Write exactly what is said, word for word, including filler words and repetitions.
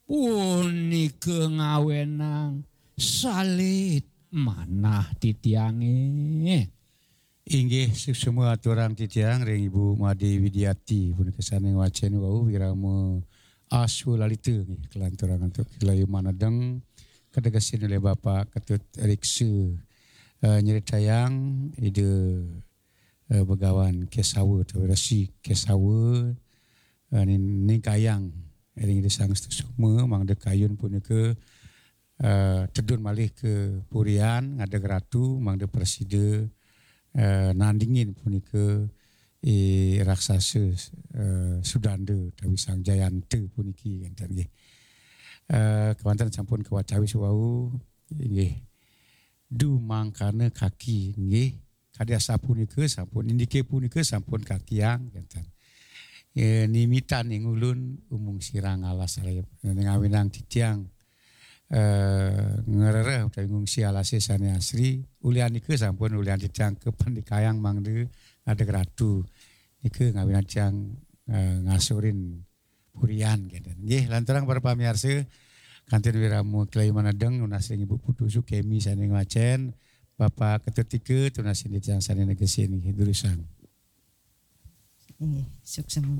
Punika ngawenang salit manah titiange. Inggih, suksma aturang titiang ring Ibu Made Widiati punika sane ngwacen wau wirama aswalalita nggih, kalanturang antuk Kilayu Manedeng kategesin oleh Bapak Ketut Riksa, eh, nyeritayang Ida, eh, Begawan Kesawa utawi Resi Kesawa, eh, ning-, ningkayang ring Ida Sang Suksma mangda kayun punika, eh, tedun malih ka purian ngadeg ratu mangda prasida, eh, nandingin punika i raksasa, eh, Sudanda utawi Sang Jayanta puniki enten nggih. Eh, kewanten sampun kawatawis wau inggih. Dumangkana kaki nggih. Kadi asapunika sampun indike punika sampun kakiang kenten. Eh, nimitan ing ulun umung sirang alas raya. Ngawinang titiang, eh, ngrereh utawi ngungsi alase sane asri, ulian nika sampun ulian titiang kapandikayang mangda ngadeg ratu. Nika ngawinang tiang, eh, ngasurin purian kenten. Nggih, lanturang para pamiarsa, kantun wirama Kilayu Manedeng nunas ring Ibu Putu Sukemi sane ngwacen, Bapak Ketut Ika tunas ring titiang sane negesin nggih, durusang. Inggih, suksma.